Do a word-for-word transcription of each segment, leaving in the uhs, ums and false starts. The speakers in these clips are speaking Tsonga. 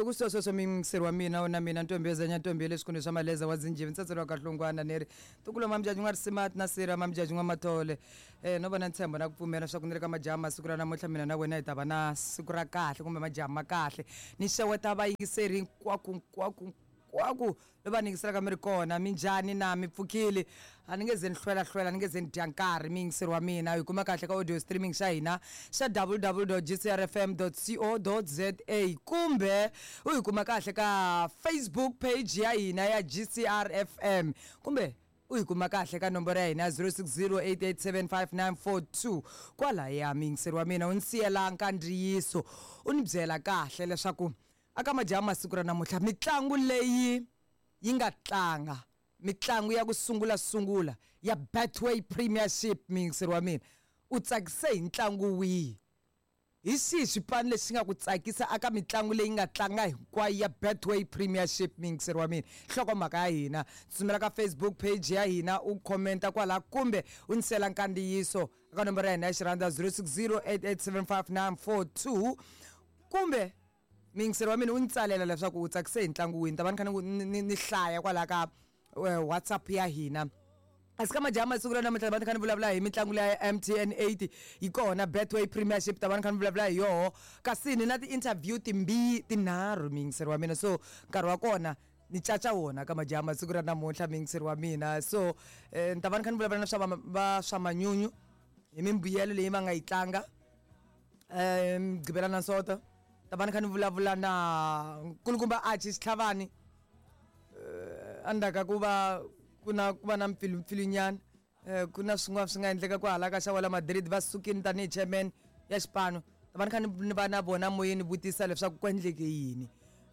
Loko swi sweswo miyingiseri wa mina na mina ntombi yo zanya ntombi ya le swikhundleni swa maleza wa zinjivi ntsatso wa kahlungwana ni ri ntukulu wa mamjaji n'wa risimati na sira mamjaji n'wa mathole. um no va na ntshembo na ku pfumela swa ku ni le ka majaha masiku ra namuntlha mina na wena hi ta va na siku ra kahle kumbe majaha ma kahle. Ni xeweta vayingiseri hinkwako hinkwako hinkwako lova ni yingiselaka mi ri kona. Minjhani na mi pfukile? A ni nge ze ni hlwela hlwela, ni nge ze ni dya nkarhi miyingiseri wa mina. Hi kuma kahle ka audio streaming xa hina xa w w w g c r f m co za kumbe u hi kuma kahle ka Facebook page ya hina ya G C R F M kumbe u hi kuma kahle ka nomboro ya hina ya zero six zero eight eight seven five nine four two. Kwalaya miyingiseri wa mina u ni siyela nkandziyiso u ni byela kahle leswaku aka majaha masiku ra namuntlha mitlangu leyi yi nga tlanga, mitlangu ya ku sungula sungula ya Betway Premiership, miyingiseri wa mina u tsakise hi ntlangu wihi? Hi xihi xipano lexi nga ku tsakisa aka mitlangu leyi nga tlanga hinkwayo ya Betway Premiership? Miyingiseri wa mina, nhlokomhaka ya hina, tsutsumela ka Facebook page ya hina u commenta kwala kumbe u ni sela nkandziyiso eka nomboro ya hina ya xirhandza zero six zero eight eight seven five nine four two kumbe miyingiseri wa mina u ni tsalela leswaku u tsakise hi ntlangu wihi. Ni ta va ni kha ni ni ni hlaya kwala ka eh, WhatsApp ya hina. Asi ka majaha masiku ra namuntlha va ni kha ni vulavula hi mitlangu leya ya M T N eight yi kona Betway Premiership, ta va ni kha ni vulavula hi yoho kasi ni na ti-interview timbi tinharhu miyingiseri wa mina. So nkarhi wa kona ni caca wona ka majaha masiku ra namuntlha miyingiseri wa mina. So eh, ni ta va ni kha ni vulavula na swa va va swa manyunyu hi mimbuyelo leyi va nga yi tlanga um Mugqivela na Sonto. Ta va ni kha ni vulavula na nkulukumba Archie Xitlhavani eh endzhaku ka ku va ku na ku va na mpfilumpfilunyana, eh ku na swin'wana swi nga endleka ku hala ka xa wala Madrid va sukile tanihi chairman ya xipano. Ta va ni kha ni ni va na vona moyeni vutisa leswaku ku endleke yini.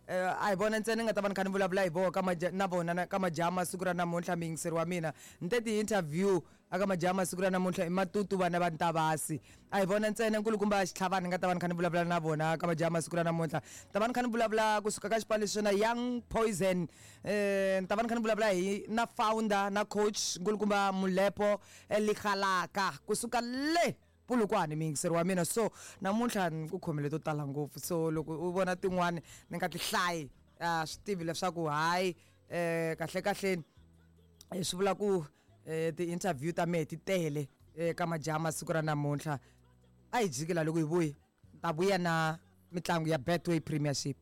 eh a hi vona ntsena ni nga ta va ni kha ni vulavula hi voho ka maja na vona na ka majaha masiku ra namuntlha miyingiseri wa mina. Ni te ti-interview aka majaha masiku ra namuntlha i matutu vana va Ntavasi. A hi vona ntsena nkulukumba Xitlhavani ni nga ta va ni kha ni vulavula na vona ka majaha masiku ra namuntlha. Ni ta va ni kha ni vulavula kusuka ka xipano lexi na Young Poison, eh ni ta va ni kha ni vulavula hi na founder na coach nkulukumba Mulepo Ligalaka kusuka le Polokwane miyingiseri wa mina. So namuntlha ni ku khomele to tala ngopfu, so loko u vona tin'wani ni nga ti hlayi a swi tivi leswaku hayi eh kahle kahleni eh, swi vula ku eh, ti-interview ta mehe ti tele eh, ka majaha masiku ra namuntlha. A hi jikela loko hi vuyi ni ta vuya na mitlangu ya Betway Premiership.